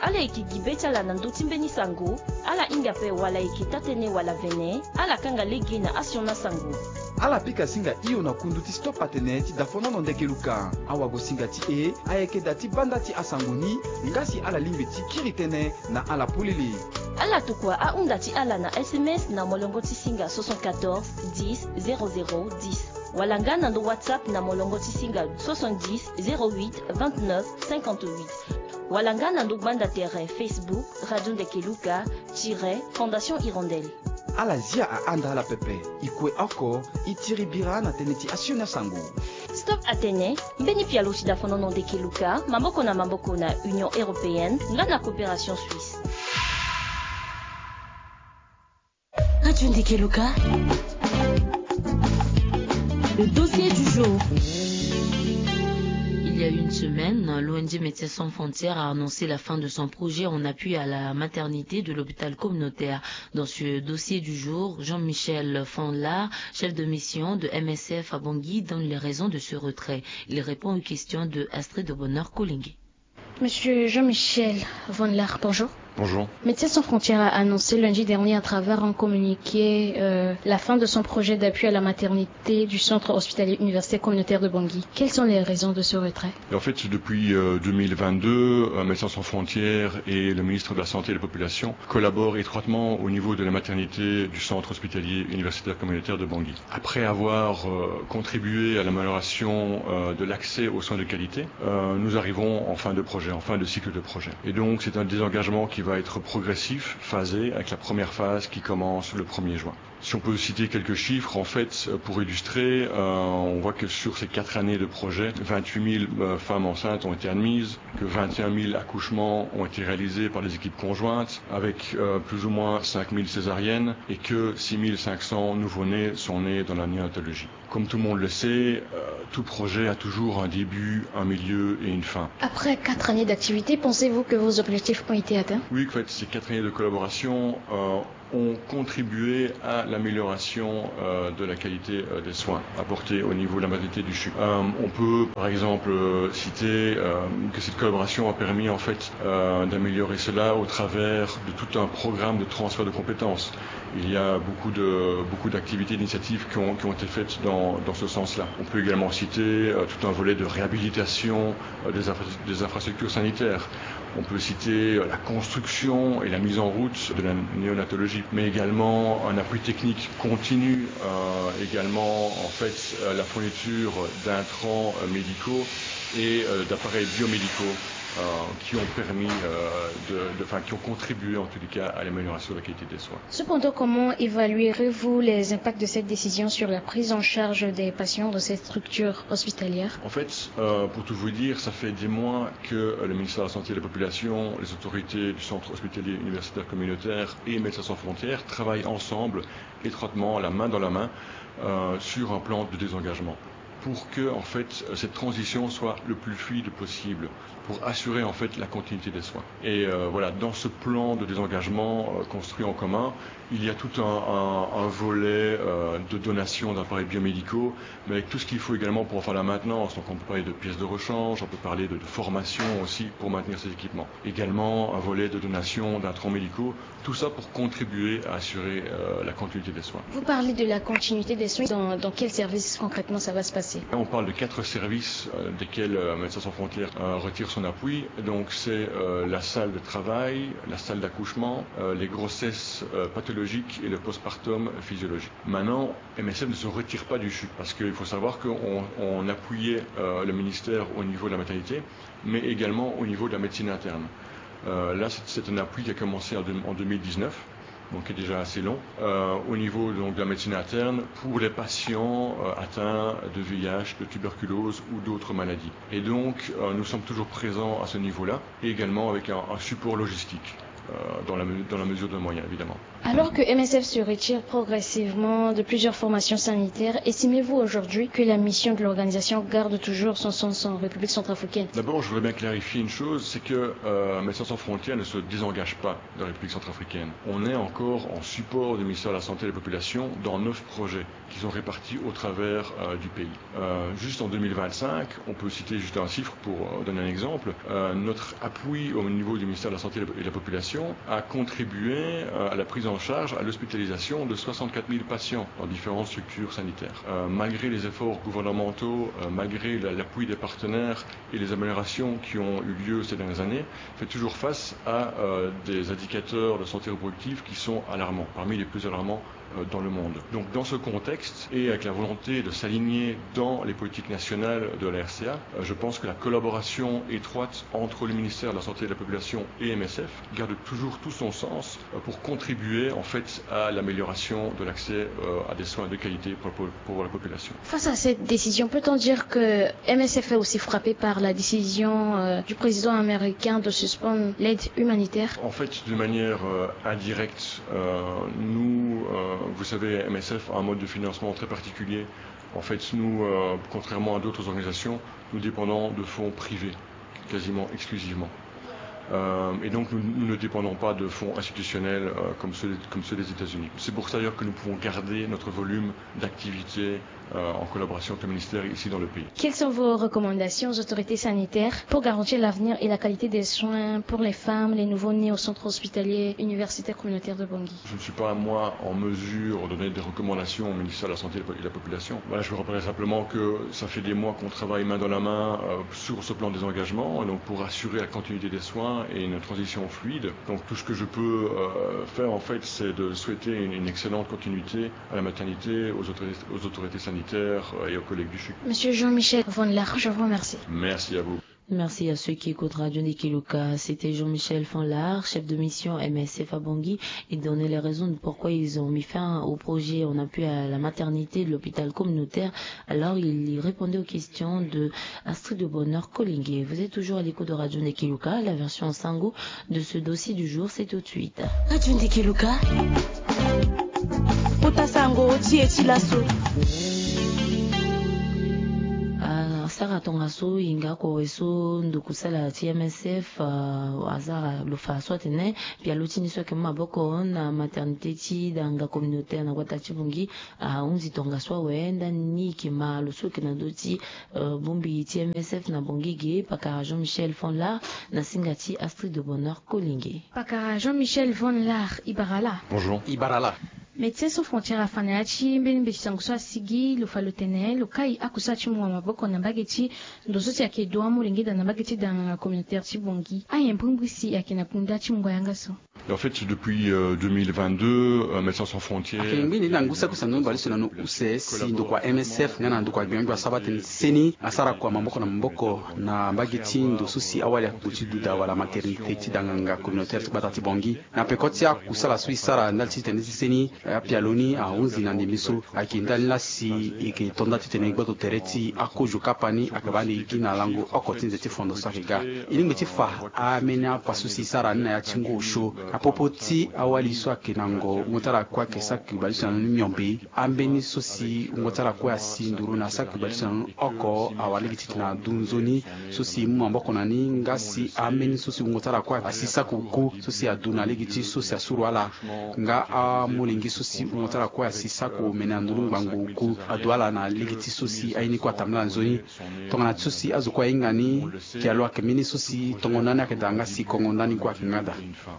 Ala yeke gi be ti ala na ndö ti mbeni sango. Ala hinga ape wala e yeke taa-tënë wala vene. Ala kanga lege na asioni asango. Ala pika singa hio na kundu ti stop atene ti dafonono ndeke luka. Awagosinga ti e ayeke da ti baa nda ti asango ni. Nga si ala lingbi ti kiri tënë na ala polele. Ala tokua ahunda ti ala na S M S na molongo ti singa soixante-quatorze dix zéro zéro dix. Wala nga na ndo WhatsApp na molongo ti singa soixante-dix zéro huit vingt-neuf cinquante-huit. Wala nga na ndo gbanda tere Facebook Radio Ndeke Luka tiret Fondation Hirondelle. Ala zia ahanda ala pepe. E kue oko e tiri bira na tënë ti asioni asango. Stop atene mbeni pialo ti dafonono ndeke luka maboko na maboko na Union Européenne nga na Coopération Suisse. Radio Ndeke Luka. Le dossier du jour. Il y a une semaine, l'O N G Médecins Sans Frontières a annoncé la fin de son projet en appui à la maternité de l'hôpital communautaire. Dans ce dossier du jour, Jean-Michel Fanlar, chef de mission de M S F à Bangui, donne les raisons de ce retrait. Il répond aux questions de Astrid de Bonheur Koulingué. Monsieur Jean-Michel Van Laar, bonjour. Bonjour. Médecins Sans Frontières a annoncé lundi dernier à travers un communiqué, euh, la fin de son projet d'appui à la maternité du centre hospitalier universitaire communautaire de Bangui. Quelles sont les raisons de ce retrait ? Et en fait, depuis, euh, deux mille vingt-deux, euh, Médecins Sans Frontières et le ministre de la Santé et de la Population collaborent étroitement au niveau de la maternité du centre hospitalier universitaire communautaire de Bangui. Après avoir, euh, contribué à l'amélioration, euh, de l'accès aux soins de qualité, euh, nous arrivons en fin de projet, en fin de cycle de projet. Et donc, c'est un désengagement qui va va être progressif, phasé, avec la première phase qui commence le premier juin. Si on peut citer quelques chiffres, en fait, pour illustrer, euh, on voit que sur ces quatre années de projet, vingt-huit mille, euh, femmes enceintes ont été admises, que vingt et un mille accouchements ont été réalisés par les équipes conjointes, avec, euh, plus ou moins cinq mille césariennes, et que six mille cinq cents nouveau-nés sont nés dans la néonatologie. Comme tout le monde le sait, euh, tout projet a toujours un début, un milieu et une fin. Après quatre années d'activité, pensez-vous que vos objectifs ont été atteints ? Oui, en fait, ces quatre années de collaboration, euh, ont contribué à l'amélioration, euh, de la qualité, euh, des soins apportés au niveau de la maternité du CHU. Euh, on peut, par exemple, euh, citer, euh, que cette collaboration a permis, en fait, euh, d'améliorer cela au travers de tout un programme de transfert de compétences. Il y a beaucoup de, beaucoup d'activités, d'initiatives qui ont, qui ont été faites dans, dans ce sens-là. On peut également citer, euh, tout un volet de réhabilitation, euh, des infra-, des infrastructures sanitaires. On peut citer, euh, la construction et la mise en route de la néonatologie, mais également un appui technique continu, euh, également, en fait, euh, la fourniture d'intrants, euh, médicaux et, euh, d'appareils biomédicaux, euh, qui ont permis, euh, de, de, enfin, qui ont contribué en tous les cas à l'amélioration de la qualité des soins. Cependant, comment évaluerez-vous les impacts de cette décision sur la prise en charge des patients dans ces structures hospitalières ? En fait, euh, pour tout vous dire, ça fait des mois que, euh, le ministère de la Santé et de la Population, les autorités du Centre hospitalier universitaire communautaire et Médecins sans frontières travaillent ensemble, étroitement, la main dans la main, euh, sur un plan de désengagement, pour que, en fait, cette transition soit le plus fluide possible, pour assurer, en fait, la continuité des soins. Et, euh, voilà, dans ce plan de désengagement, euh, construit en commun, il y a tout un, un, un volet, euh, de donation d'appareils biomédicaux, mais avec tout ce qu'il faut également pour en faire la maintenance. Donc on peut parler de pièces de rechange, on peut parler de, de formation aussi pour maintenir ces équipements. Également un volet de donation d'intrants médicaux, tout ça pour contribuer à assurer, euh, la continuité des soins. Vous parlez de la continuité des soins, dans, dans quel service concrètement ça va se passer ? Là, on parle de quatre services, euh, desquels, euh, Médecins sans frontières, euh, retire son appui. Donc c'est, euh, la salle de travail, la salle d'accouchement, euh, les grossesses, euh, pathologiques et le postpartum physiologique. Maintenant, M S F ne se retire pas du CHU, parce qu'il faut savoir qu'on, on appuyait, euh, le ministère au niveau de la maternité, mais également au niveau de la médecine interne. Euh, là, c'est, c'est un appui qui a commencé en deux, en deux mille dix-neuf, donc qui est déjà assez long, euh, au niveau donc de la médecine interne pour les patients, euh, atteints de V I H, de tuberculose ou d'autres maladies. Et donc, euh, nous sommes toujours présents à ce niveau-là, et également avec un, un support logistique, euh, dans la me-, dans la mesure de nos moyens, évidemment. Alors que M S F se retire progressivement de plusieurs formations sanitaires, estimez-vous aujourd'hui que la mission de l'organisation garde toujours son sens en République centrafricaine ? D'abord, je voudrais bien clarifier une chose, c'est que, euh, Médecins sans frontières ne se désengage pas de la République centrafricaine. On est encore en support du ministère de la Santé et de la Population dans neuf projets qui sont répartis au travers, euh, du pays. Euh, juste en deux mille vingt-cinq, on peut citer juste un chiffre pour, euh, donner un exemple, euh, notre appui au niveau du ministère de la Santé et de la Population a contribué, euh, à la prise en charge, à l'hospitalisation de soixante-quatre mille patients dans différentes structures sanitaires. Euh, malgré les efforts gouvernementaux, euh, malgré la, l'appui des partenaires et les améliorations qui ont eu lieu ces dernières années, fait toujours face à, euh, des indicateurs de santé reproductive qui sont alarmants, parmi les plus alarmants, euh, dans le monde. Donc, dans ce contexte, et avec la volonté de s'aligner dans les politiques nationales de la R C A, euh, je pense que la collaboration étroite entre le ministère de la Santé et de la Population et M S F garde toujours tout son sens, euh, pour contribuer, en fait, à l'amélioration de l'accès, euh, à des soins de qualité pour, pour, pour la population. Face à cette décision, peut-on dire que M S F est aussi frappé par la décision, euh, du président américain de suspendre l'aide humanitaire ? En fait, de manière, euh, indirecte, euh, nous, euh, vous savez, M S F a un mode de financement très particulier. En fait, nous, euh, contrairement à d'autres organisations, nous dépendons de fonds privés, quasiment exclusivement. Euh, et donc, nous, nous ne dépendons pas de fonds institutionnels, euh, comme ceux, comme ceux des États-Unis. C'est pour ça d'ailleurs que nous pouvons garder notre volume d'activité, euh, en collaboration avec le ministère ici dans le pays. Quelles sont vos recommandations aux autorités sanitaires pour garantir l'avenir et la qualité des soins pour les femmes, les nouveau-nés au centre hospitalier universitaire communautaire de Bangui ? Je ne suis pas, moi, en mesure de donner des recommandations au ministère de la Santé et de la Population. Voilà, je vous rappellerai simplement que ça fait des mois qu'on travaille main dans la main, euh, sur ce plan des engagements, et donc pour assurer la continuité des soins et une transition fluide. Donc tout ce que je peux, euh, faire, en fait, c'est de souhaiter une, une excellente continuité à la maternité, aux autorités, aux autorités sanitaires, euh, et aux collègues du CHU. Monsieur Jean-Michel Von Larue, je vous remercie. Merci à vous. Merci à ceux qui écoutent Radio Ndiki Luka. C'était Jean-Michel Fanlard, chef de mission M S F à Bangui. Il donnait les raisons de pourquoi ils ont mis fin au projet en appui à la maternité de l'hôpital communautaire. Alors, il y répondait aux questions de Astrid de Bonheur Kolingué. Vous êtes toujours à l'écoute de Radio Ndiki Luka. La version sango de ce dossier du jour, c'est tout de suite. Radio Ndiki Luka. Kota sango, ti e ti laso. Ah, sara tongaso, inga ko eso, nduku sala ti M S F, ah, azara lo fa so atene, pialo ti ni so ayeke mu maboko na maternité ti danga communautaire na gbata ti Bangui, ahunzi tongaso awe, ndani ni yeke ma lo so yeke na ndö ti, euh, bongbi ti M S F na Bangui ge, pakara Jean-Michel Fanlard, na singa ti Astrid de Bonheur Kolingué. Pakara Jean-Michel Fanlard, e bara laa. Bonjour. E bara laa. Médecins Sans Frontières afa na ya ti mbeni mbeti sango so asigi, lo fa lo tene, lo kai akusala ti mungo maboko na mbage ti ndo so si ayeke do amolenge daa na mbage ti danga communautaire ti Bangui. Aye mbrimbri si ayeke na kunda ti mungo yanga so. Et en fait, depuis, euh, deux mille vingt-deux, euh, Médecins Sans Frontières. Ayeke ngbi ni na ngu saki kusana ni baleuse na ni use si ndokua M S F nga na ndokua gbia gbia so aba tënë ti seni asara kua maboko na maboko na mbage ti ndo so si awali akobo ti duda wala maternité ti danganga communautaire ti gbata ti Bangui. Na peko ti akusala so e sara ndali ti tënë ti seni, apialo ni ahunzi na ndembe so. Ayeke ndali laa si e yeke to nda titene gboto tere ti akozo kapa ni ayeke baa ande e gi na lango oko ti nze ti fondo so ayeke ga. E lingbi ti fa ameni apa so si e sara ni na ya ti ngu osio na popo ti awali so ayeke na ngo, wungo ti ala kue ayeke saki baleuse na ni miombe. Ambeni so si wungo ti ala kue asi nduru na saki baleuse na ni oko awara lege titene adu nzoni so si e mu maboko na ni, nga si ambeni so si wungo ti ala kue asi saki oku so si adu na lege ti so si asuru ala. Nga amolenge so si wungo ti ala kue asi saki omene na nduru ngbangbo oku adu ala na lege ti so si aye ni kue atambula nzoni. Tongana ti so si azo kue ahinga ni, pialo ayeke mbeni so si tongo ndani ayeke daa nga si kongo ndani kue ayeke nga daa.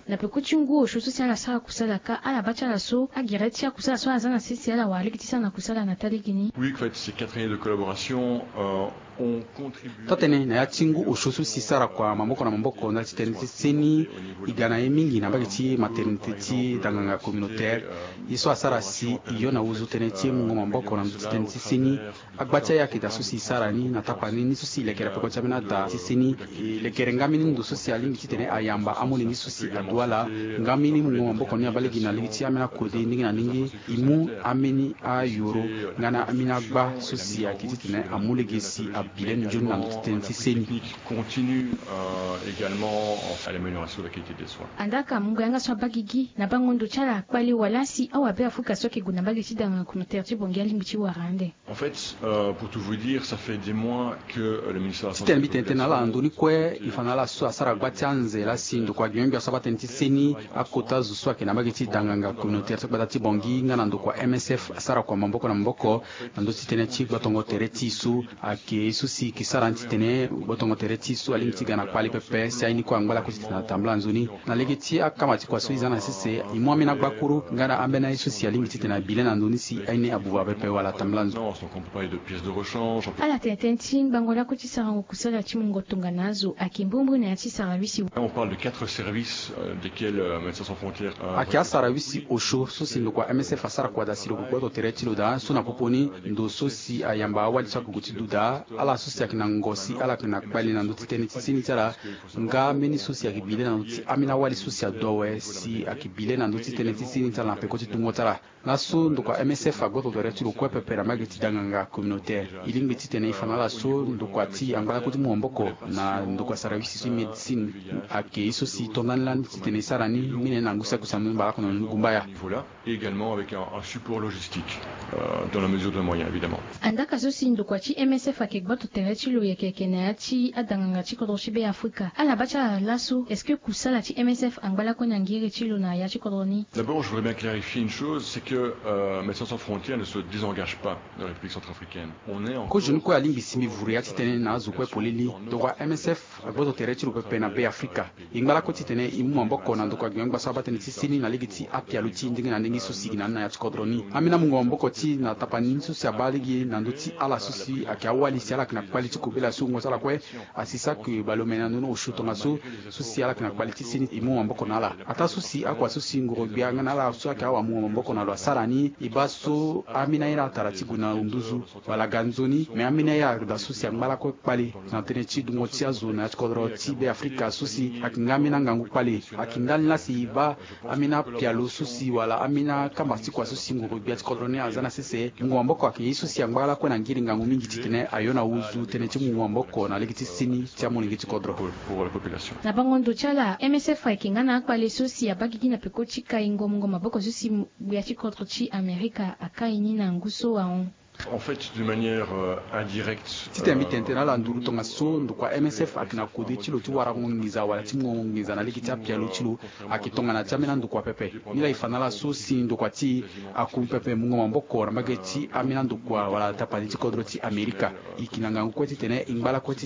Na peko ti ngu osio so si ala sara kusala ka, ala baa ti ala so agere ti akusala so aza na sese ala wara lege ti sara na kusala na taa lege ni. Oui, en fait, ces quatre années de collaboration, euh, ont contribué. Taa tënë na ya ti ngu osio so si e sara kua maboko na maboko ndali ti tënë ti seni, e ga na ye mingi na mbage ti maternité ti danganga communautaire. Ye so asara si e yo na wuzu tënë ti mungo maboko na ndö ti tënë ti seni. Agba ti ayeke daa so si e sara ni na tapani ni so si e lekere peko ti ambeni ada ti seni. E lekere nga mbeni ndo so si alingbi titene ayamba amolenge so si adu ala. Nga mbeni mungo maboko ni abaa lege na lege ti ambeni akode ndenge na ndenge. E mu ambeni ayoro nga na ambeni agba so si ayeke titene amu lege si abi lani nzoni na ndö ti tënë ti seni. Continue, euh, également à l'amélioration de la qualité des soins. Andaa ka mungo yanga so abaa gigi na bango ndo ti ala akpale wala si awabe afuka so ayeke gue na mbage ti danganga communautaire ti Bangui alingbi ti wara ande. En fait, euh, pour tout vous dire, ça fait des mois que, euh, le ministère de la Santé... Titene mbi tene tënë na ala na ndoni kue, e fa na ala so asara gba ti anze laa si ndokua gbia gbia so abaa tënë ti seni, akota zo so ayeke na mbage ti danganga communautaire ti gbata ti Bangui nga na ndokua M S F asara kua maboko na maboko na ndö ti tënë ti gbotongo tere ti e so. Ayeke ye so si e yeke sara ni titene gbotongo tere ti e so alingbi ti ga na kpale pepe si aye ni kue angba lakue titene atambula nzoni. Na lege ti akama ti kua so e za na sese, e mu ambeni agbakuru nga na ambeni aye so si alingbi titene abi le na ndö ni si aye ni abuba pepe wala atambula nzoni. Donc, on peut parler de pièces de rechange. Ala tene tënë ti ngbangbo lakue ti sarango kusala ti mungo tongana azo ayeke mbrimbri na ya ti sarawisi. On parle de quatre services, euh, desquels, euh, Médecins Sans Frontières, euh... Ayeke asarawisi osio so si ndokua M S F asara kua daa si lo gboto tere ti lo daa so na popo ni ndo so si ayamba awali so ayeke gue ti duda, ala so si ayeke na ngo si ala yeke na kpale na ndö ti tënë ti seni ti ala. Nga mbeni so si ayeke bi le na ndö ti ambeni awali so si adu awe si ayeke bi le na ndö ti tënë ti seni ti ala na peko ti tungo ti ala. Laso ndokua M S F agboto tere ti lo kue pepe na mbage ti danganga communautaire. E lingbi titene e fa na ala so ndokua ti angba lakue ti mu maboko na ndokua sarawisi so médecine. Ayeke ye so si e to ndani lani titene e sara ni, mbi na ngu saki kusana ni baleoko na ni gumbaya. Niveau là, et également avec un, un support logistique, euh, dans la mesure de nos moyens, évidemment. Andaa ka so si ndokua ti M S F ayeke gboto tere ti lo yeke yeke na ya ti adanganga ti kodro ti Be Afrika. Ala baa ti ala laso, est-ce que kusala ti M S F angba lakue na ngiri ti lo na ya ti kodro ni? D'abord, je voudrais bien clarifier une chose, c'est que, euh, Médecins Sans Frontières ne se désengage pas de la République centrafricaine. On est en... Kozoni kue alingbi si mbi vuru ya titene na azo kue polele, ndokua M S F agboto tere ti lo pepe na Be Afrika. E ngba lakue titene e mu maboko na Tokua gi angba so abaa tënë ti seni na lege ti apialo ti ndenge na ndenge so si gi na ni na ya ti kodro ni. Ambeni amungo maboko ti na tapani ni so si abaa lege na ndö ti ala so si ayeke awali si ala yeke na kpali ti kobela so wungo ti ala kue. Asi saki baleomene na ndoni osio tongaso so si ala yeke na kpali ti seni e mu maboko na ala. Ataa so si akua so si ngoro-gbia nga na ala so ayeke awamungo maboko na lo asara ni e baa so ambeni aye ni atara ti gue na nduzu wala ga nzoni. Me ambeni aye ada so si angba lakue kpale na tënë ti dungo ti azo na ya ti kodro ti Be Afrika so si ayeke nga ambeni angangu kpale. Ayeke ndali laa si e baa ambeni apialo so si wala ambeni akamba ti kua so si ngoro-gbia ti kodro ni aza na sese. Mungo maboko ayeke ye so si angba lakue na ngiri ngangu mingi titene ayo na wuzu tënë ti mungo maboko na lege ti seni ti amolenge ti kodro. Na bango ndo ti ala, M S F ayeke nga na akpale so si abaa gigi na peko ti kaingo mungo maboko so si gbia ti kodro ti Amerika akai ni na ngu so ahon. En fait, de manière, euh, indirecte, titene mbi tene tënë na ala nduru tongaso ndokua M S F ayeke na kode ti lo ti warango nginza wala ti mungo nginza na lege ti apialo ti lo. Ayeke tongana ti ambeni andokua pepe. Nilaa e fa na ala so si ndokua ti e aku pepe mungo maboko na mbage ti ambeni andokua wala tapani ti kodro ti Amerika. E yeke na ngangu kue titene e ngba lakue ti